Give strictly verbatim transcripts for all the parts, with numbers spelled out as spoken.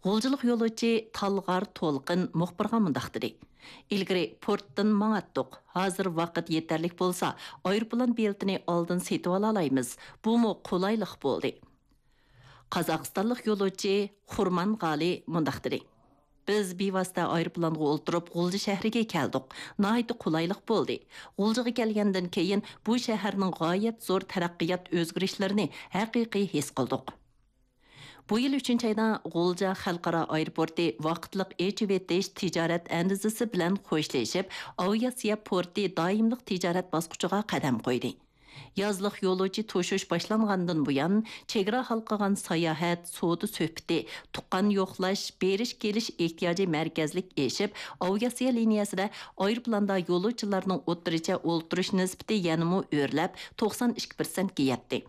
غۇلجىلىق يولۇچى تالغار تولقىن مۇخبىرغا مۇنداق دېدى: «ئىلگىرى پورتتىن ماڭاتتۇق، ھازىر ۋاقىت يېتەرلىك بولسا، ئايروپىلان بېلىتىنى ئالدىن سېتىۋالالايمىز، بۇمۇ قولايلىق بولدى.» قازاقىستانلىق يولۇچى خۇرمان غالى مۇنداق دېدى: «بىز بىۋاسىتە ئايروپىلانغا ئولتۇرۇپ غۇلجا شەھىرىگە كەلدۇق، ناھايىتى قولايلىق بولدى. غۇلجىغا كەلگەندىن كېيىن بۇ شەھەرنىڭ غايەت زور تەرەققىيات ئۆزگىرىشلىرىنى ھەقىقىي ھېس قىلدۇق.» بۇ يىل ئۈچىنچى ئايدا غۇلجا خەلقئارا ئايروپورتى ۋاقىتلىق ئېچىۋېتىش تىجارەت ئەندىزىسى بىلەن خوشلىشىپ، ئاۋىئاتسىيە پورتى دائىملىق تىجارەت باسقۇچىغا قەدەم قويدى. يازلىق يولۇچى توشۇش باشلانغاندىن بۇيان، چېگرا ھالقىغان ساياھەت، سودا سۆھبىتى، تۇغقان يوقلاش، بېرىش-كېلىش ئېھتىياجى مەركەزلىك ئېشىپ، ئاۋىئاتسىيە لىنىيەسىدە ئايروپىلاندا يولۇچىلارنىڭ ئوتتۇرىچە ئولتۇرۇش نىسبىتى يەنىمۇ ئۆرلەپ، توقسان ئىككى پىرسەنتكە يەتتى.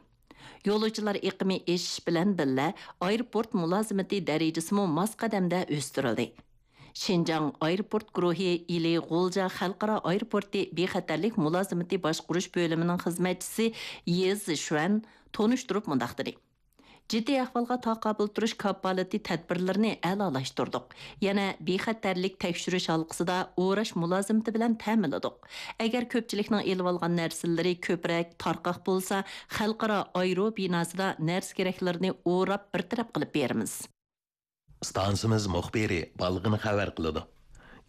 يولۇچىلار ئېقىمى ئېشىش بىلەن بىللە، ئايروپورت مۇلازىمىتى دەرىجىسىمۇ ماس قەدەمدە ئۆستۈرۈلدى. شىنجاڭ ئايروپورت گۇرۇھى ئىلى غۇلجا خەلقئارا ئايروپورتى بىخەتەرلىك مۇلازىمىتى باشقۇرۇش بۆلۈمىنىڭ خىزمەتچىسى يې زىشۈەن تونۇشتۇرۇپ مۇنداق دېدى: «جىددىي ئەھۋالغا تاقابىل تۇرۇش كاپالىتى تەدبىرلىرىنى ئەلالاشتۇردۇق. يەنە بىخەتەرلىك تەكشۈرۈش ھالقىسىدا ئوراش مۇلازىمىتى بىلەن تەمىنلىدۇق. ئەگەر كۆپچىلىكنىڭ ئېلىۋالغان نەرسىلىرى كۆپرەك، تارقاق بولسا، خەلقئارا ئايرو بىناسىدا نەرسە-كېرەكلىرىنى ئوراپ بىر تەرەپ قىلىپ بېرىمىز.» ئىستانسىمىز مۇخبىرى بالغىن خەۋەر قىلىدۇ.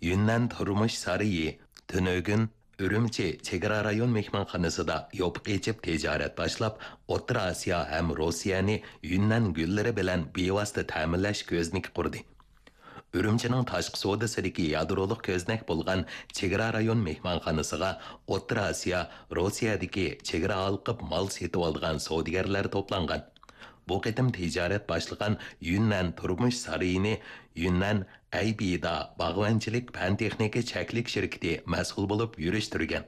يۈننەن تۇرمۇش سارىيى تۈنۈگۈن ئۈرۈمچى چېگرا رايون مېھمانخانىسىدا يوپۇق ئېچىپ تىجارەت باشلاپ، ئوتتۇرا ئاسىيا ھەم روسىيەنى يۈننەن گۈللىرى بىلەن بىۋاسىتە تەمىنلەش كۆزنىكى قۇردى. ئۈرۈمچىنىڭ تاشقى سودىسىدىكى يادرولۇق كۆزنەك بولغان چېگرا رايون مېھمانخانىسىغا ئوتتۇرا ئاسىيا، روسىيەدىكى چېگرا ھالقىپ مال سېتىۋالىدىغان سودىگەرلەر توپلانغان. بۇ قېتىم تىجارەت باشلىغان يۈننەن تۇرمۇش سارىيىنى يۈننەن ئەيبىدا باغۋەنچىلىك پەن-تېخنىكا چەكلىك شىركىتى مەسئۇل بولۇپ يۈرۈشتۈرگەن.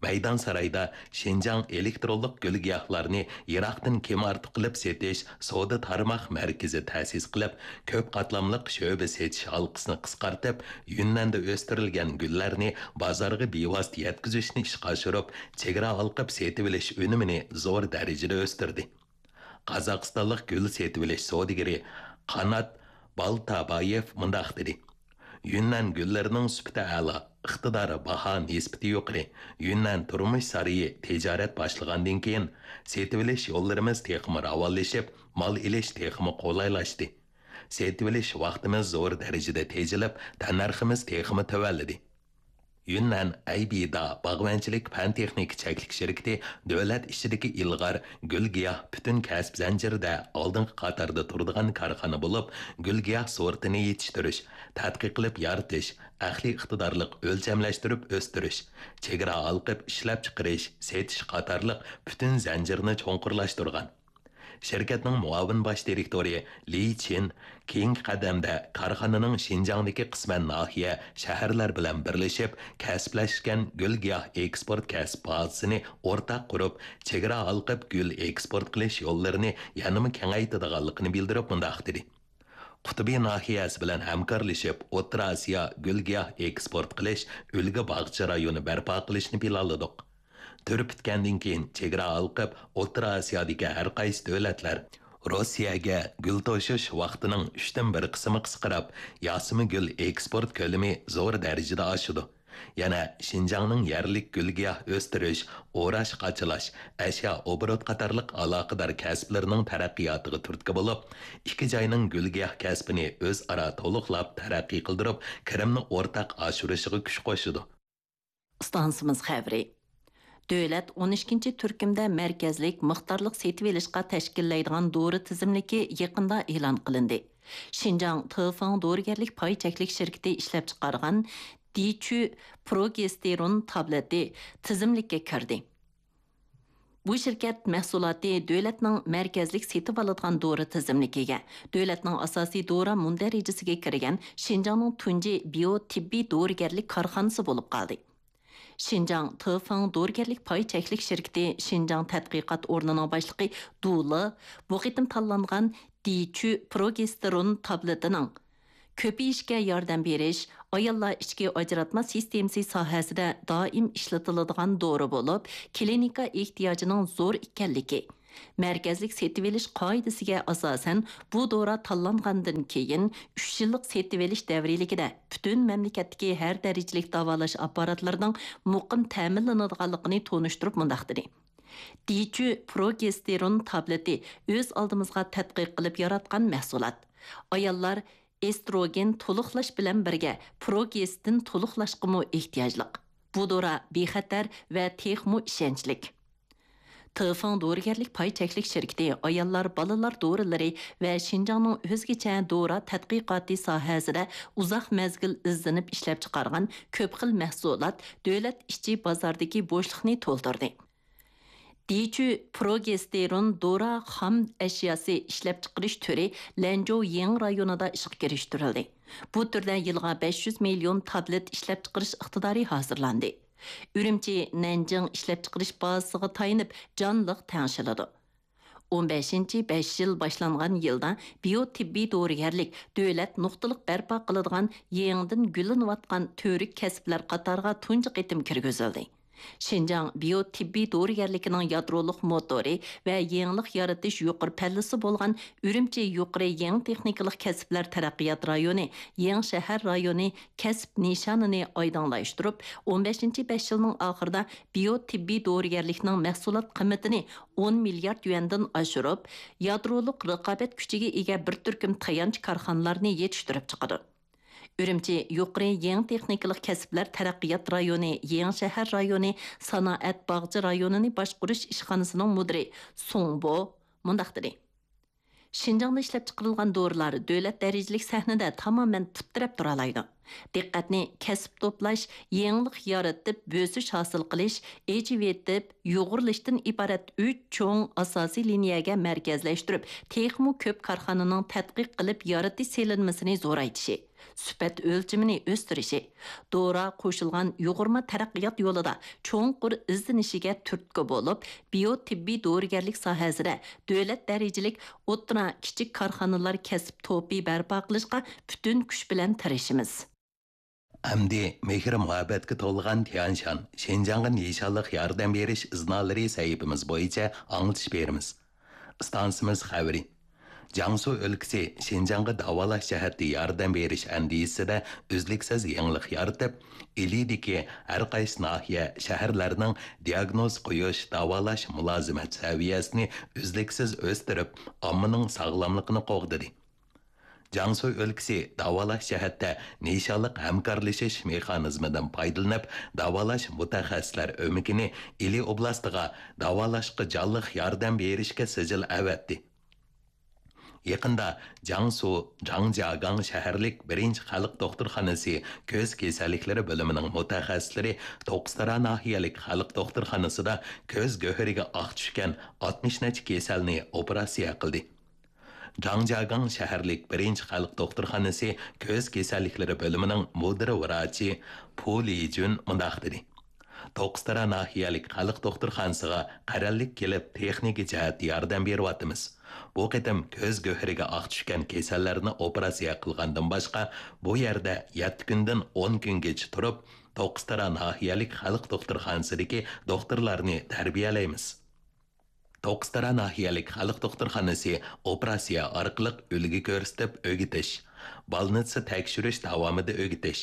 مەيدان سارايدا شىنجاڭ ئېلېكترونلۇق گۈل-گىياھلارنى يىراقتىن كىم ئارتۇق قىلىپ سېتىش سودا تارماق مەركىزى تەسىس قىلىپ، كۆپ قاتلاملىق شۆبە سېتىش ھالقىسىنى قىسقارتىپ، يۈننەندە ئۆستۈرۈلگەن گۈللەرنى بازارغا بىۋاسىتە يەتكۈزۈشنى ئىشقا ئاشۇرۇپ، چېگرا ھالقىپ سېتىۋېلىش ئۈنۈمىنى زور دەرىجىدە ئۆستۈردى. قازاقىستانلىق گۈل سېتىۋېلىش سودىگىرى قانات بالتابايېف مۇنداق دېدى: «يۈننەن گۈللىرىنىڭ سۈپىتى ئەلا، ئىقتىدارى باھا نىسبىتى يۇقىرى. يۈننەن تۇرمۇش سارىيى تىجارەت باشلىغاندىن كېيىن، سېتىۋېلىش يوللىرىمىز تېخىمۇ راۋانلىشىپ، مال ئېلىش تېخىمۇ قولايلاشتى. سېتىۋېلىش ۋاقتىمىز زور دەرىجىدە تېجىلىپ، تەننەرخىمىز تېخىمۇ تۆۋەنلىدى.» يۈننەن ئەيبىدا باغۋەنچىلىك پەن-تېخنىكا چەكلىك شىركىتى دۆلەت ئىچىدىكى ئىلغار گۈل-گىياھ پۈتۈن كەسىپ زەنجىرىدە ئالدىنقى قاتاردا تۇرىدىغان كارخانا بولۇپ، گۈل-گىياھ سورتىنى يېتىشتۈرۈش، تەتقىق قىلىپ يارىتىش، ئەقلىي ئىقتىدارلىق ئۆلچەملەشتۈرۈپ ئۆستۈرۈش، چېگرا ھالقىپ ئىشلەپچىقىرىش، سېتىش قاتارلىق پۈتۈن زەنجىرنى چوڭقۇرلاشتۇرغان. شىركەتنىڭ مۇئاۋىن باش دىرېكتورى لى چىن كېيىنكى قەدەمدە كارخانىنىڭ شىنجاڭدىكى قىسمەن ناھىيە، شەھەرلەر بىلەن بىرلىشىپ، كەسىپلەشكەن گۈل-گىياھ ئېكسپورت كەسىپ بازىسىنى ئورتاق قۇرۇپ، چېگرا ھالقىپ گۈل ئېكسپورت قىلىش يوللىرىنى يەنىمۇ كېڭەيتىدىغانلىقىنى بىلدۈرۈپ مۇنداق دېدى: «قۇتۇبى ناھىيەسى بىلەن ھەمكارلىشىپ، ئوتتۇرا ئاسىيا گۈل-گىياھ ئېكسپورت قىلىش ئۈلگە باغچە رايونى بەرپا قىلىشنى پىلانلىدۇق.» تۈر پۈتكەندىن كېيىن، چېگرا ھالقىپ ئوتتۇرا ئاسىيادىكى ھەر قايسى دۆلەتلەر روسىيەگە گۈل توشۇش ۋاقتىنىڭ ئۈچتىن بىر قىسمى قىسقىراپ، ياسىمىگۈل ئېكسپورت كۆلىمى زور دەرىجىدە ئاشىدۇ. يەنە شىنجاڭنىڭ يەرلىك گۈل-گىياھ ئۆستۈرۈش، ئوراش-قاچىلاش، ئەشيا ئوبوروت قاتارلىق ئالاقىدار كەسىپلىرىنىڭ تەرەققىياتىغا تۈرتكە بولۇپ، ئىككى جاينىڭ گۈل-گىياھ كەسپىنى ئۆزئارا تولۇقلاپ تەرەققىي قىلدۇرۇپ، كىرىمنى ئورتاق ئاشۇرۇشىغا كۈچ قوشىدۇ. ئىستانسىمىز خەۋىرى. دۆلەت ئون ئىككىنچى تۈركۈمدە مەركەزلىك مىقدارلىق سېتىۋېلىشقا تەشكىللەيدىغان دورا تىزىملىكى يېقىندا ئېلان قىلىندى. شىنجاڭ تېفېڭ دورىگەرلىك پاي چەكلىك شىركىتى ئىشلەپچىقارغان دىچۈ پروگېستېرون تابلېتى تىزىملىككە كىردى. بۇ شىركەت مەھسۇلاتى دۆلەتنىڭ مەركەزلىك سېتىۋالىدىغان دورا تىزىملىكىگە، دۆلەتنىڭ ئاساسىي دورا مۇندەرىجىسىگە كىرگەن شىنجاڭنىڭ تۇنجى بىيو تېببىي دورىگەرلىك كارخانىسى بولۇپ قالدى. شىنجاڭ تېفېڭ دورىگەرلىك پاي چەكلىك شىركىتى شىنجاڭ تەتقىقات ئورنىنىڭ باشلىقى دۇ لې بۇ قېتىم تاللانغان دىچۈ پروگېستېرون تابلېتىنىڭ كۆپىيىشكە ياردەم بېرىش، ئاياللار ئىچكى ئاجراتما سىستېمىسى ساھەسىدە دائىم ئىشلىتىلىدىغان دورا بولۇپ، كلىنىكا ئېھتىياجىنىڭ زور ئىكەنلىكى، مەركەزلىك سېتىۋېلىش قائىدىسىگە ئاساسەن، بۇ دورا تاللانغاندىن كېيىن، ئۈچ يىللىق سېتىۋېلىش دەۋرىيلىكىدە پۈتۈن مەملىكەتتىكى ھەر دەرىجىلىك داۋالاش ئاپپاراتلىرىنىڭ مۇقىم تەمىنلىنىدىغانلىقىنى تونۇشتۇرۇپ مۇنداق دېدى: دىچۈ پروگېستېرون تابلېتى ئۆز ئالدىمىزغا تەتقىق قىلىپ ياراتقان مەھسۇلات. ئاياللار ئېستروگېن تولۇقلاش بىلەن بىرگە پروگېستىن تولۇقلاشقىمۇ ئېھتىياجلىق. بۇ دورا بىخەتەر ۋە تېخىمۇ ئىشەنچلىك. تېفېڭ دورىگەرلىك پاي چەكلىك شىركىتى ئاياللار، بالىلار دورىلىرى ۋە شىنجاڭنىڭ ئۆزگىچە دورا تەتقىقاتى ساھەسىدە ئۇزاق مەزگىل ئىزدىنىپ ئىشلەپچىقارغان كۆپ خىل مەھسۇلات دۆلەت ئىچى بازاردىكى بوشلۇقنى تولدۇردى. دىچۈ پروگېستېرون دورا خام ئەشياسى ئىشلەپچىقىرىش تۈرى لەنجۇ يېڭى رايونىدا ئىشقا كىرىشتۈرۈلدى. بۇ تۈردە يىلىغا بەش يۈز مىليون تابلېت ئىشلەپچىقىرىش ئىقتىدارى ھازىرلاندى. ئۈرۈمچى، نەنجىڭ ئىشلەپچىقىرىش بازىسىغا تايىنىپ جانلىق تەڭشىلىدۇ. ئون بەشىنچى بەش يىل باشلانغان يىلدا بىيو تېببىي دورىگەرلىك دۆلەت نۇقتىلىق بەرپا قىلىدىغان يېڭىدىن گۈللىنىۋاتقان تۈۋرۈك كەسىپلەر قاتارىغا تۇنجى قېتىم كىرگۈزۈلدى. شىنجاڭ بىيو تېببىي دورىگەرلىكىنىڭ يادرولۇق موتورى ۋە يېڭىلىق يارىتىش يۇقىرى پەللىسى بولغان ئۈرۈمچى يۇقىرى يېڭى تېخنىكىلىق كەسىپلەر تەرەققىيات رايونى، يېڭى شەھەر رايونى كەسىپ نىشانىنى ئايدىڭلاشتۇرۇپ، ئون بەشىنچى بەش يىلنىڭ ئاخىرىدا بىيو تېببىي دورىگەرلىكنىڭ مەھسۇلات قىممىتىنى ئون مىليارد يۈەندىن ئاشۇرۇپ، يادرولۇق رىقابەت كۈچىگە ئىگە بىر تۈركۈم تايانچ كارخانىلارنى يېتىشتۈرۈپ چىقىدۇ. ئۈرۈمچى يۇقىرى يېڭى تېخنىكىلىق كەسىپلەر تەرەققىيات رايونى، يېڭى شەھەر رايونى سانائەت باغچە رايونىنى باشقۇرۇش ئىشخانىسىنىڭ مۇدىرى سۇڭ بو مۇنداق دېدى: شىنجاڭدا ئىشلەپچىقىرىلغان دورىلار دۆلەت دەرىجىلىك سەھنىدە تامامەن پۇت تىرەپ تۇرالايدۇ. دىققەتنى كەسىپ توپلاش، يېڭىلىق يارىتىپ بۆسۈش ھاسىل قىلىش، ئېچىۋېتىپ يۇغۇرۇلۇشتىن ئىبارەت ئۈچ چوڭ ئاساسىي لىنىيەگە مەركەزلەشتۈرۈپ، تېخىمۇ كۆپ كارخانىنىڭ تەتقىق قىلىپ يارىتىش سېلىنمىسىنى زورايتىشى، سۈپەت ئۆلچىمىنى ئۆستۈرۈشى، دورا قوشۇلغان يۇغۇرما تەرەققىيات يولىدا چوڭقۇر ئىزدىنىشىگە تۈرتكە بولۇپ، بىيو تېببىي دورىگەرلىك ساھەسىدە دۆلەت دەرىجىلىك ئوتتۇرا، كىچىك كارخانىلار كەسىپ توپى بەرپا قىلىشقا پۈتۈن كۈچ بىلەن تىرىشىمىز. ئەمدى مېھىر-مۇھەببەتكە تولغان تيەنشان، شىنجاڭغا نىشانلىق ياردەم بېرىش ئىزنالىرى سەھىپىمىز بويىچە ئاڭلىتىش بېرىمىز. ئىستانسىمىز خەۋىرى. جياڭسۇ ئۆلكىسى شىنجاڭغا داۋالاش جەھەتتە ياردەم بېرىش ئەندىزىسىدە ئۈزلۈكسىز يېڭىلىق يارىتىپ، ئىلىدىكى ھەر قايسى ناھىيە، شەھەرلەرنىڭ دىياگنوز قويۇش، داۋالاش مۇلازىمەت سەۋىيەسىنى ئۈزلۈكسىز ئۆستۈرۈپ، ئاممىنىڭ ساغلاملىقىنى قوغدىدى. جياڭسۇ ئۆلكىسى داۋالاش جەھەتتە نىشانلىق ھەمكارلىشىش مېخانىزمىدىن پايدىلىنىپ، داۋالاش مۇتەخەسسىسلەر ئۆمىكىنى ئىلى ئوبلاستىغا داۋالاشقا جانلىق ياردەم بېرىشكە سىجىل ئەۋەتتى. يېقىندا جياڭسۇ جاڭجياگاڭ شەھەرلىك بىرىنچى خەلق دوختۇرخانىسى كۆز كېسەللىكلىرى بۆلۈمىنىڭ مۇتەخەسسىسلىرى توققۇزتارا ناھىيەلىك خەلق دوختۇرخانىسىدا كۆز گۆھىرىگە ئاق چۈشكەن ئاتمىش نەچچە كېسەلنى ئوپېراتسىيە قىلدى. جاڭجياگاڭ شەھەرلىك بىرىنچى خەلق دوختۇرخانىسى كۆز كېسەللىكلىرى بۆلۈمىنىڭ مۇدىر ۋراچى پۇ لىجۈن مۇنداق دېدى: توققۇزتارا ناھىيەلىك خەلق دوختۇرخانىسىغا قەرەللىك كېلىپ، تېخنىكا جەھەتتە ياردەم بېرىۋاتىمىز. بۇ قېتىم كۆز گۆھىرىگە ئاق چۈشكەن كېسەللەرنى ئوپېراتسىيە قىلغاندىن باشقا، بۇ يەردە يەتتە كۈندىن ئون كۈنگىچە تۇرۇپ، توققۇزتارا ناھىيەلىك خەلق دوختۇرخانىسىدىكى دوختۇرلارنى تەربىيەلەيمىز. توققۇزتارا ناھىيەلىك خەلق دوختۇرخانىسى ئوپېراتسىيە ئارقىلىق ئۈلگە كۆرسىتىپ ئۆگىتىش، بالنىتسا تەكشۈرۈش داۋامىدا ئۆگىتىش،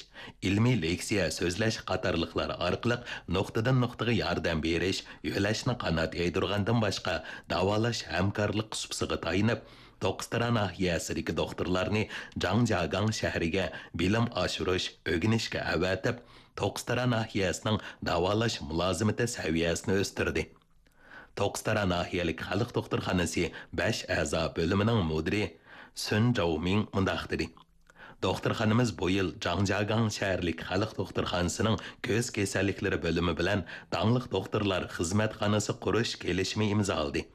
ئىلمىي لېكسىيە سۆزلەش قاتارلىقلار ئارقىلىق نۇقتىدىن نۇقتىغا ياردەم بېرىش، يۆلەشنى قانات يايدۇرغاندىن باشقا، داۋالاش ھەمكارلىق سۇپىسىغا تايىنىپ، توققۇزتارا ناھىيەسىدىكى دوختۇرلارنى جاڭجياگاڭ شەھىرىگە بىلىم ئاشۇرۇش، ئۆگىنىشكە ئەۋەتىپ، توققۇزتارا ناھىيەسىنىڭ داۋالاش مۇلازىمىتى سەۋىيەسىنى ئۆستۈردى. توققۇزتارا ناھىيەلىك خەلق دوختۇرخانىسى بەش ئەزا بۆلۈمىنىڭ مۇدىرى سۈن جاۋمىڭ مۇنداق دېدى: دوختۇرخانىمىز بۇ يىل جاڭجياگاڭ شەھەرلىك خەلق دوختۇرخانىسىنىڭ كۆز كېسەللىكلىرى بۆلۈمى بىلەن داڭلىق دوختۇرلار خىزمەتخانىسى قۇرۇش كېلىشىمى ئىمزالىدى.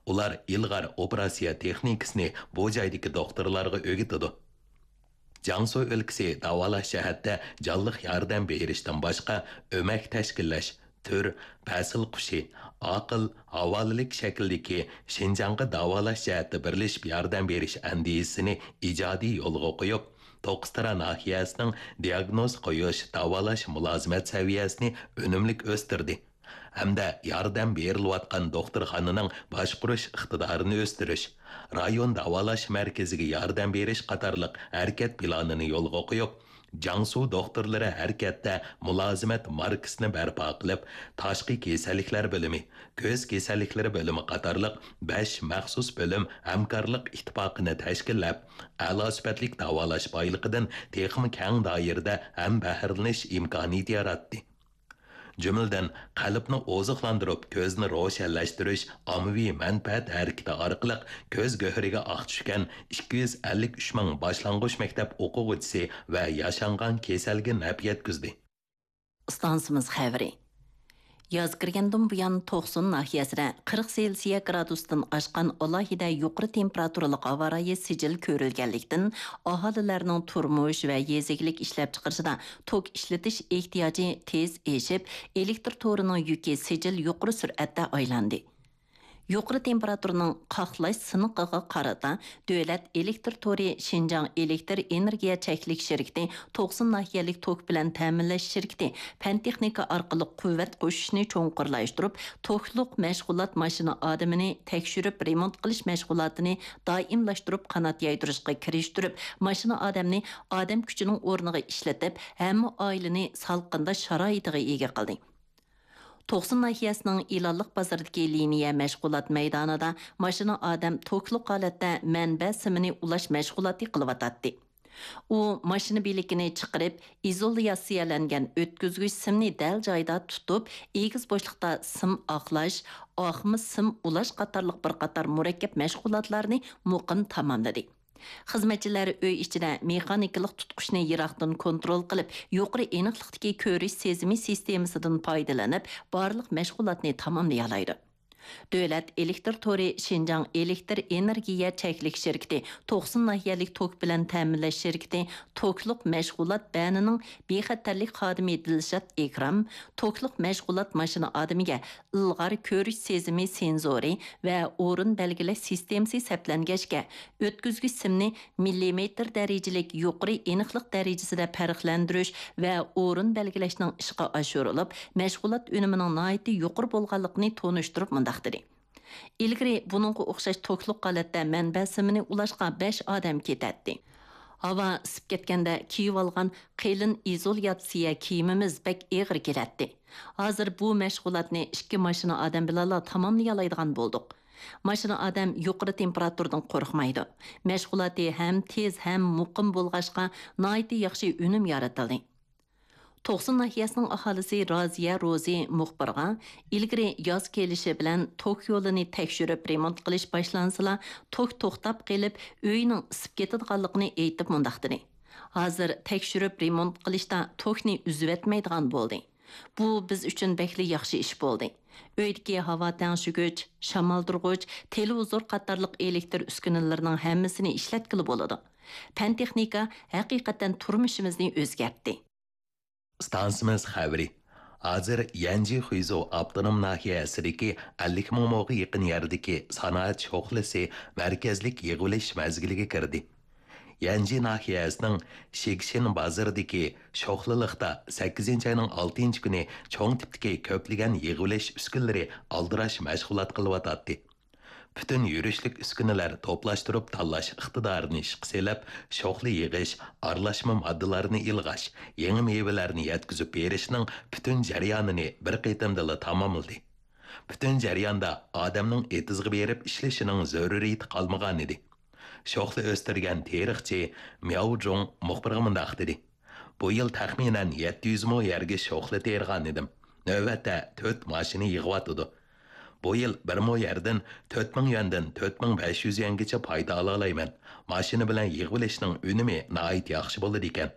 ئۇلار ئىلغار ئوپېراتسىيە تېخنىكىسىنى بۇ جايدىكى دوختۇرلارغا ئۆگىتىدۇ. جياڭسۇ ئۆلكىسى داۋالاش جەھەتتە جانلىق ياردەم بېرىشتىن باشقا، ئۆمەك تەشكىللەش، تۈر، پەسىل قۇشى، ئاقىل، ھاۋالىلىك شەكلىدىكى شىنجاڭغا داۋالاش جەھەتتە بىرلىشىپ ياردەم بېرىش ئەندىزىسىنى ئىجادىي يولغا قويۇپ، توققۇزتارا ناھىيەسىنىڭ دىياگنوز قويۇش، داۋالاش مۇلازىمەت سەۋىيەسىنى ئۈنۈملۈك ئۆستۈردى. ھەمدە ياردەم بېرىلىۋاتقان دوختۇرخانىنىڭ باشقۇرۇش ئىقتىدارىنى ئۆستۈرۈش، رايون داۋالاش مەركىزىگە ياردەم بېرىش قاتارلىق ھەرىكەت پىلانىنى يولغا قويۇپ، جياڭسۇ دوختۇرلىرى ھەرىكەتتە مۇلازىمەت ماركىسىنى بەرپا قىلىپ، تاشقى كېسەللىكلەر بۆلۈمى، كۆز كېسەللىكلىرى بۆلۈمى قاتارلىق بەش مەخسۇس بۆلۈم ھەمكارلىق ئىتتىپاقىنى تەشكىللەپ، ئەلا سۈپەتلىك داۋالاش بايلىقىدىن تېخىمۇ كەڭ دائىرىدە ھەمبەھىرلىنىش ئىمكانىيىتى ياراتتى. جۈملىدىن، قەلبنى ئوزۇقلاندۇرۇپ، كۆزنى روشەنلەشتۈرۈش ئاممىۋى مەنپەئەت ھەرىكىتى ئارقىلىق كۆز گۆھىرىگە ئاق چۈشكەن ئىككى يۈز ئەللىك ئۈچ مىڭ باشلانغۇچ مەكتەپ ئوقۇغۇچىسى ۋە ياشانغان كېسەلگە نەپ يەتكۈزدى. ئىستانسىمىز خەۋىرى. ياز كىرگەندىن بۇيان، توقسۇن ناھىيەسىدە قىرىق سېلسىيە گرادۇستىن ئاشقان ئالاھىدە يۇقىرى تېمپېراتۇرىلىق ھاۋا رايى سىجىل كۆرۈلگەنلىكتىن، ئاھالىلەرنىڭ تۇرمۇش ۋە يېزا ئىگىلىك ئىشلەپچىقىرىشىدا توك ئىشلىتىش ئېھتىياجى تېز ئېشىپ، ئېلېكتر تورىنىڭ يۈكى سىجىل يۇقىرى سۈرئەتتە ئايلاندى. يۇقىرى تېمپېراتۇرىنىڭ قاقلاش سىنىقىغا قارىتا، دۆلەت ئېلېكتر تورى شىنجاڭ ئېلېكتر ئېنېرگىيە چەكلىك شىركىتى توقسۇن ناھىيەلىك توك بىلەن تەمىنلەش شىركىتى پەن-تېخنىكا ئارقىلىق قۇۋۋەت قوشۇشنى چوڭقۇرلاشتۇرۇپ، توكلۇق مەشغۇلات ماشىنا ئادىمىنى تەكشۈرۈپ رېمونت قىلىش مەشغۇلاتىنى دائىملاشتۇرۇپ قانات يايدۇرۇشقا كىرىشتۈرۈپ، ماشىنا ئادەمنى ئادەم كۈچىنىڭ ئورنىغا ئىشلىتىپ، ھەممە ئائىلىنى سالقىندا شارائىتىغا ئىگە قىلدى. توقسۇن ناھىيەسىنىڭ ئىلانلىق بازىرىدىكى لىنىيە مەشغۇلات مەيدانىدا ماشىنا ئادەم توكلۇق ھالەتتە مەنبە سىمىنى ئۇلاش مەشغۇلاتى قىلىۋاتاتتى. ئۇ ماشىنا بىلىكىنى چىقىرىپ، ئىزولياتسىيەلەنگەن ئۆتكۈزگۈچ سىمنى دەل جايىدا تۇتۇپ، ئېگىز بوشلۇقتا سىم ئاقلاش، ئاقما سىم ئۇلاش قاتارلىق بىر قاتار مۇرەككەپ مەشغۇلاتلارنى مۇقىم تاماملىدى. خىزمەتچىلەر ئۆي ئىچىدە مېخانىكىلىق تۇتقۇچنى يىراقتىن كونترول قىلىپ، يۇقىرى ئېنىقلىقتىكى كۆرۈش سېزىمى سىستېمىسىدىن پايدىلىنىپ، بارلىق مەشغۇلاتنى تاماملىيالايدۇ. دۆلەت ئېلېكتر تورى شىنجاڭ ئېلېكتر ئېنېرگىيە چەكلىك شىركىتى توقسۇن ناھىيەلىك توك بىلەن تەمىنلەش شىركىتى توكلۇق مەشغۇلات بەنىنىڭ بىخەتەرلىك خادىمى دىلشات ئىكرام توكلۇق مەشغۇلات ماشىنا ئادىمىگە ئىلغار كۆرۈش سېزىمى سېنزورى ۋە ئورۇن بەلگىلەش سىستېمىسى سەپلەنگەچكە، ئۆتكۈزگۈچ سىمنى مىللىمېتىر دەرىجىلىك يۇقىرى ئېنىقلىق دەرىجىسىدە پەرقلەندۈرۈش ۋە ئورۇن بەلگىلەشنىڭ ئىشقا ئاشۇرۇلۇپ، مەشغۇلات ئۈنۈمىنىڭ ناھايىتى يۇقىرى بولغانلىقىنى تونۇشتۇرۇپ مۇنداق دېدى: ئىلگىرى بۇنىڭغا ئوخشاش توكلۇق ھالەتتە مەنبە سىمىنى ئۇلاشقا بەش ئادەم كېتەتتى. ھاۋا ئىسسىپ كەتكەندە كىيىۋالغان قېلىن ئىزولياتسىيە كىيىمىمىز بەك ئېغىر كېلەتتى. ھازىر بۇ مەشغۇلاتنى ئىككى ماشىنا ئادەم بىلەنلا تاماملىيالايدىغان بولدۇق. ماشىنا ئادەم يۇقىرى تېمپېراتۇرىدىن قورقمايدۇ. مەشغۇلاتى ھەم تېز، ھەم مۇقىم بولغاچقا، ناھايىتى ياخشى ئۈنۈم يارىتىلدى. توقسۇن ناھىيەسىنىڭ ئاھالىسى رازىيە روزى مۇخبىرغا، ئىلگىرى ياز كېلىشى بىلەن توك يولىنى تەكشۈرۈپ رېمونت قىلىش باشلانسىلا، توك توختاپ قېلىپ، ئۆينىڭ ئىسسىپ كېتىدىغانلىقىنى ئېيتىپ مۇنداق دېدى: «ھازىر تەكشۈرۈپ رېمونت قىلىشتا توكنى ئۈزۈۋەتمەيدىغان بولدى. بۇ بىز ئۈچۈن بەكلا ياخشى ئىش بولدى. ئۆيدىكى ھاۋا تەڭشىگۈچ، شامالدۇرغۇچ، تېلېۋىزور قاتارلىق ئېلېكتر ئۈسكۈنىلىرىنىڭ ھەممىسىنى ئىشلەتكىلى بولىدۇ. پەن-تېخنىكا ھەقىقەتەن تۇرمۇشىمىزنى ئۆزگەرتتى.» ئىستانسىمىز خەۋىرى. ھازىر يەنجى خۇيزۇ ئاپتونوم ناھىيەسىدىكى ئەللىك مىڭ موغا يېقىن يەردىكى سانائەت شوخلىسى مەركەزلىك يىغىۋېلىش مەزگىلىگە كىردى. يەنجى ناھىيەسىنىڭ شىگشىن بازىرىدىكى شوخلىلىقتا سەككىزىنچى ئاينىڭ ئالتىنچى كۈنى چوڭ تىپتىكى كۆپلىگەن يىغىۋېلىش ئۈسكۈنىلىرى ئالدىراش مەشغۇلات قىلىۋاتاتتى. پۈتۈن يۈرۈشلۈك ئۈسكۈنىلەر توپلاشتۇرۇپ تاللاش ئىقتىدارىنى ئىشقا سېلىپ، شوخلا يىغىش، ئارىلاشما ماددىلارنى ئىلغاش، يېڭى مېۋىلەرنى يەتكۈزۈپ بېرىشنىڭ پۈتۈن جەريانىنى بىر قېتىمدىلا تاماملىدى. پۈتۈن جەرياندا ئادەمنىڭ ئېتىزغا بېرىپ ئىشلىشىنىڭ زۆرۈرىيىتى قالمىغانىدى. شوخلا ئۆستۈرگەن تېرىقچى مياۋ جۇڭ مۇخبىرغا مۇنداق دېدى: «بۇ يىل تەخمىنەن يەتتە يۈز مو يەرگە شوخلا تېرىغان ئىدىم. نۆۋەتتە تۆت ماشىنا يىغىۋاتىدۇ. بۇ يىل بىر مو يەردىن تۆت مىڭ يۈەندىن تۆت مىڭ بەش يۈز يۈەنگىچە پايدا ئالالايمەن. ماشىنا بىلەن يىغىۋېلىشنىڭ ئۈنۈمى ناھايىتى ياخشى بولىدىكەن.»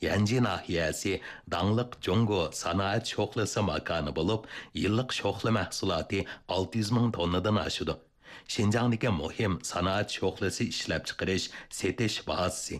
يەنجى ناھىيەسى داڭلىق جۇڭگو سانائەت شوخلىسى ماكانى بولۇپ، يىللىق شوخلا مەھسۇلاتى ئالتە يۈز مىڭ توننىدىن ئاشىدۇ. شىنجاڭدىكى مۇھىم سانائەت شوخلىسى ئىشلەپچىقىرىش، سېتىش بازىسى.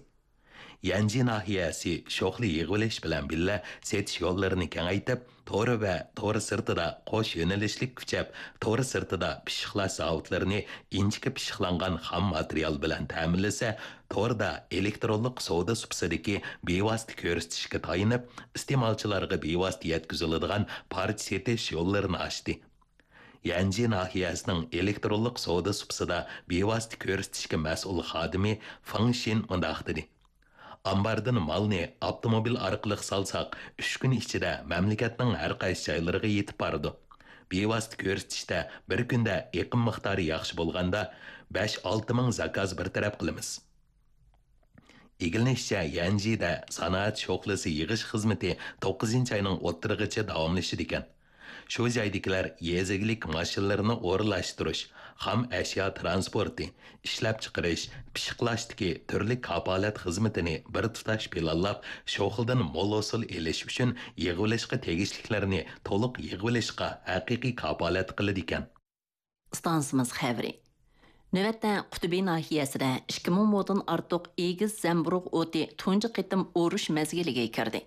يەنجى ناھىيەسى شوخلا يىغىۋېلىش بىلەن بىللە سېتىش يوللىرىنى كېڭەيتىپ، تور ۋە تور سىرتىدا قوش يۆنىلىشلىك كۈچەپ، تور سىرتىدا پىششىقلاش زاۋۇتلىرىنى ئىنچىكە پىششىقلانغان خام ماتېرىيال بىلەن تەمىنلىسە، توردا ئېلېكترونلۇق سودا سۇپىسىدىكى بىۋاسىتە كۆرسىتىشكە تايىنىپ، ئىستېمالچىلارغا بىۋاسىتە يەتكۈزۈلىدىغان پارچە سېتىش يوللىرىنى ئاچتى. يەنجى ناھىيەسىنىڭ ئېلېكترونلۇق سودا سۇپىسىدا بىۋاسىتە كۆرسىتىشكە مەسئۇل خادىمى فېڭ شىن مۇنداق دېدى: ئامباردىن مالنى ئاپتوموبىل ئارقىلىق سالساق، ئۈچ كۈن ئىچىدە مەملىكەتنىڭ ھەر قايسى جايلىرىغا يېتىپ بارىدۇ. بىۋاسىتە كۆرسىتىشتە بىر كۈندە ئېقىم مىقدارى ياخشى بولغاندا، بەش-ئالتە مىڭ زاكاز بىر تەرەپ قىلىمىز. ئىگىلىنىشىچە، يەنجىدە سانائەت شوخلىسى يىغىش خىزمىتى توققۇزىنچى ئاينىڭ ئوتتۇرىغىچە داۋاملىشىدىكەن. شۇ جايدىكىلەر يېزا ئىگىلىك ماشىنىلىرىنى ئورۇنلاشتۇرۇش، خام ئەشيا تىرانسپورتى، ئىشلەپچىقىرىش، پىششىقلاشتىكى تۈرلۈك كاپالەت خىزمىتىنى بىر تۇتاش پىلانلاپ، شوخلىدىن مول ھوسۇل ئېلىش ئۈچۈن يىغىۋېلىشقا تېگىشلىكلەرنى تولۇق يىغىۋېلىشقا ھەقىقىي كاپالەت قىلىدىكەن. ئىستانسىمىز خەۋىرى. نۆۋەتتە قۇتۇبى ناھىيەسىدە ئىككى مىڭ مودىن ئارتۇق ئېگىز زەمبۇرۇغ ئوتى تۇنجى قېتىم ئورۇش مەزگىلىگە كىردى.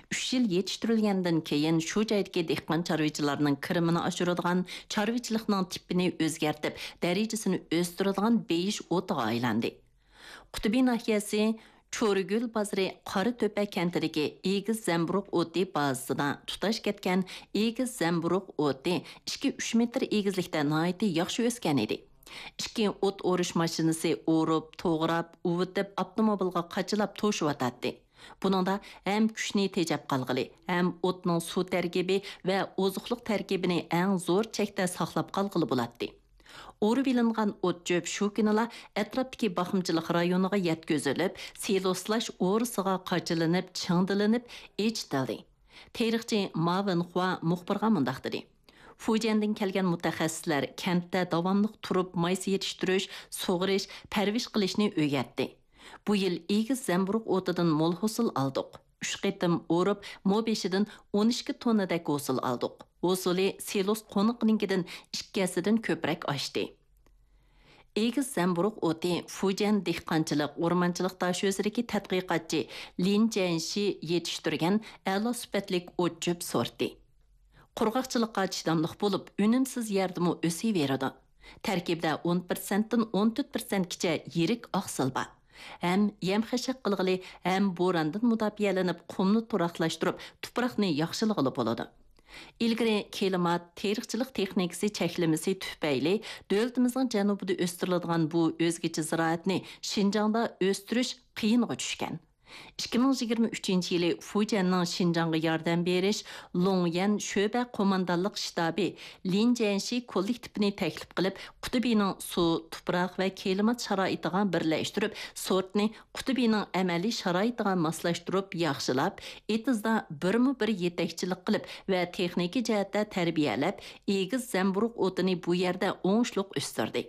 ئۈچ يىل يېتىشتۈرۈلگەندىن كېيىن، شۇ جايدىكى دېھقان چارۋىچىلارنىڭ كىرىمىنى ئاشۇرىدىغان، چارۋىچىلىقنىڭ تىپىنى ئۆزگەرتىپ، دەرىجىسىنى ئۆستۈرىدىغان بېيىش ئوتىغا ئايلاندى. قۇتۇبى ناھىيەسى چورىگۈل بازىرى قارا تۆپە كەنتىدىكى ئېگىز زەمبۇرۇغ ئوتى بازىسىدا تۇتاش كەتكەن ئېگىز زەمبۇرۇغ ئوتى ئىككى-ئۈچ مېتىر ئېگىزلىكتە ناھايىتى ياخشى ئۆسكەن ئىدى. ئىككى ئوت ئورۇش ماشىنىسى ئورۇپ، توغراپ، ئۇۋۇتۇپ، ئاپتوموبىلغا قاچىلاپ توشۇۋاتاتتى. بۇنىڭدا ھەم كۈچنى تېجەپ قالغىلى، ھەم ئوتنىڭ سۇ تەركىبى ۋە ئوزۇقلۇق تەركىبىنى ئەڭ زور چەكتە ساقلاپ قالغىلى بولاتتى. ئورۇۋېلىنغان ئوت-چۆپ شۇ كۈنىلا ئەتراپتىكى باقمىچىلىق رايونىغا يەتكۈزۈلۈپ، سىلوسلاش ئورىسىغا قاچىلىنىپ، چىڭدىلىنىپ ئېچىتىلدى. تېرىقچى ما ۋېنخۇا مۇخبىرغا مۇنداق دېدى: فۇجيەندىن كەلگەن مۇتەخەسسىسلەر كەنتتە داۋاملىق تۇرۇپ مايسا يېتىشتۈرۈش، سۇغىرىش، پەرۋىش قىلىشنى ئۆگەتتى. بۇ يىل ئېگىز زەمبۇرۇغ ئوتىدىن مول ھوسۇل ئالدۇق. ئۈچ قېتىم ئورۇپ، مو بېشىدىن ئون ئىككى توننىدەك ھوسۇل ئالدۇق. ھوسۇلى سىلوس قونىقىنىڭكىدىن ئىككى ھەسسىدىن كۆپرەك ئاشتى. ئېگىز زەمبۇرۇغ ئوتى فۇجيەن دېھقانچىلىق، ئورمانچىلىق داھىيەسىدىكى تەتقىقاتچى لىن جيەنشى يېتىشتۈرگەن ئەلا سۈپەتلىك ئوت-چۆپ سورتى. قۇرغاقچىلىققا چىداملىق بولۇپ، ئۈنۈمسىز يەردىمۇ ئۆسۈۋېرىدۇ. تەركىبىدە ئون پىرسەنتتىن ئون تۆت پىرسەنتكىچە يىرىك ئاقسىل بار. ھەم يەم-خەشەك قىلغىلى، ھەم بوراندىن مۇداپىئەلىنىپ، قۇمنى تۇراقلاشتۇرۇپ، تۇپراقنى ياخشىلىغىلى بولىدۇ. ئىلگىرى كىلىمات، تېرىقچىلىق تېخنىكىسى چەكلىمىسى تۈپەيلى دۆلىتىمىزنىڭ جەنۇبىدا ئۆستۈرۈلىدىغان بۇ ئۆزگىچە زىرائەتنى شىنجاڭدا ئۆستۈرۈش قىيىنغا چۈشكەن. ئىككى مىڭ يىگىرمە ئۈچىنچى يىلى فۇجيەننىڭ شىنجاڭغا ياردەم بېرىش لوڭيەن شۆبە قوماندانلىق شتابى لىن جيەنشى كوللېكتىپىنى تەكلىپ قىلىپ، قۇتۇبىنىڭ سۇ، تۇپراق ۋە كىلىمات شارائىتىغا بىرلەشتۈرۈپ، سورتنى قۇتۇبىنىڭ ئەمەلىي شارائىتىغا ماسلاشتۇرۇپ ياخشىلاپ، ئېتىزدا بىرمۇ بىر يېتەكچىلىك قىلىپ ۋە تېخنىكا جەھەتتە تەربىيەلەپ، ئېگىز زەمبۇرۇغ ئوتىنى بۇ يەردە ئوڭۇشلۇق ئۆستۈردى.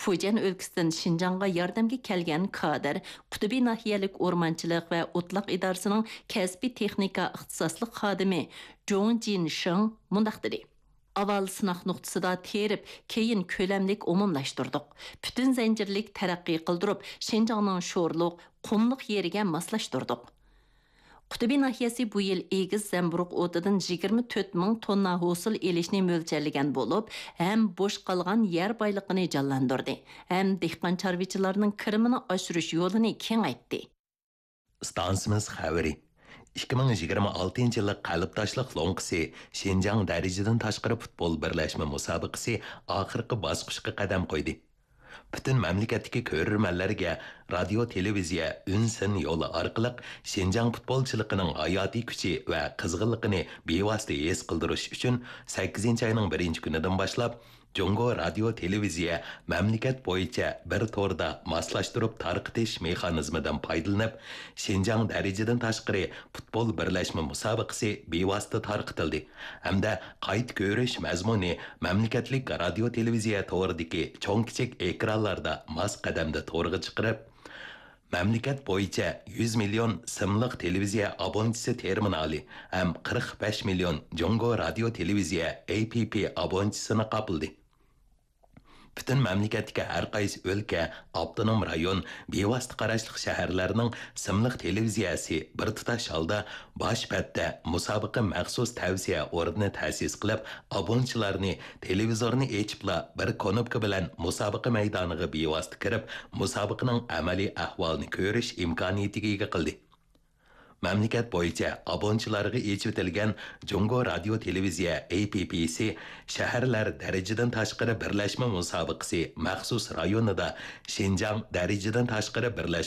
فۇجيەن ئۆلكىسىدىن شىنجاڭغا ياردەمگە كەلگەن كادىر قۇتۇبى ناھىيەلىك ئورمانچىلىق ۋە ئوتلاق ئىدارىسىنىڭ كەسپىي تېخنىكا ئىختىساسلىق خادىمى جوڭ جىن شېڭ مۇنداق دېدى: ئاۋۋال سىناق نۇقتىسىدا تېرىپ، كېيىن كۆلەملىك ئومۇملاشتۇردۇق. پۈتۈن زەنجىرلىك تەرەققىي قىلدۇرۇپ، شىنجاڭنىڭ شورلۇق، قۇملۇق يېرىگە ماسلاشتۇردۇق. قۇتۇبى ناھىيەسى بۇ يىل ئېگىز زەمبۇرۇغ ئوتىدىن يىگىرمە تۆت مىڭ توننا ھوسۇل ئېلىشنى مۆلچەرلىگەن بولۇپ، ھەم بوش قالغان يەر بايلىقىنى جانلاندۇردى، ھەم دېھقان چارۋىچىلارنىڭ كىرىمىنى ئاشۇرۇش يولىنى كېڭەيتتى. ئىستانسىمىز خەۋىرى. ئىككى مىڭ يىگىرمە ئالتىنچى يىللىق قەلبداشلىق لوڭقىسى شىنجاڭ دەرىجىدىن تاشقىرى پۇتبول بىرلەشمە مۇسابىقىسى ئاخىرقى باسقۇچقا قەدەم قويدى. پۈتۈن مەملىكەتتىكى كۆرۈرمەنلەرگە رادىيو، تېلېۋىزىيە، ئۈن سىن يولى ئارقىلىق شىنجاڭ پۇتبولچىلىقىنىڭ ھاياتىي كۈچى ۋە قىزغىنلىقىنى بىۋاسىتە ھېس قىلدۇرۇش ئۈچۈن، سەككىزىنچى ئاينىڭ بىرىنچى كۈنىدىن باشلاپ، جۇڭگو رادىيو، تېلېۋىزىيە مەملىكەت بويىچە بىر توردا ماسلاشتۇرۇپ تارقىتىش مېخانىزمىدىن پايدىلىنىپ، شىنجاڭ دەرىجىدىن تاشقىرى پۇتبول بىرلەشمە مۇسابىقىسى بىۋاسىتە تارقىتىلدى ھەمدە قايتا كۆرۈش مەزمۇنى مەملىكەتلىك رادىيو، تېلېۋىزىيە تورىدىكى چوڭ-كىچىك ئېكرانلاردا ماس قەدەمدە تورغا چىقىرىپ، مەملىكەت بويىچە يۈز مىليون سىملىق تېلېۋىزىيە ئابونتىسى تېرمىنالى ھەم قىرىق بەش مىليون جۇڭگو رادىيو، تېلېۋىزىيە، ئەي پىي پىي ئابونتىسىنى قاپلىدى. پۈتۈن مەملىكەتتىكى ھەر قايسى ئۆلكە، ئاپتونوم رايون، بىۋاسىتە قاراشلىق شەھەرلەرنىڭ سىملىق تېلېۋىزىيەسى بىر تۇتاش ھالدا باش بەتتە مۇسابىقە مەخسۇس تەۋسىيە ئورنىنى تەسىس قىلىپ، ئابۇنىچىلارنى تېلېۋىزورنى ئېچىپلا بىر كونوپكا بىلەن مۇسابىقە مەيدانىغا بىۋاسىتە كىرىپ، مۇسابىقىنىڭ ئەمەلىي ئەھۋالىنى كۆرۈش ئىمكانىيىتىگە ئىگە قىلدى. مەملىكەت بويىچە ئابۇنىچىلارغا ئېچىۋېتىلگەن جۇڭگو رادىيو تېلېۋىزىيە ئېي پىي پىسى شەھەرلەر دەرىجىدىن تاشقىرى بىرلەشمە مۇسابىقىسى مەخسۇس رايونىدا شىنجاڭ دەرىجىدىن تاشقىرى بىرلەشمە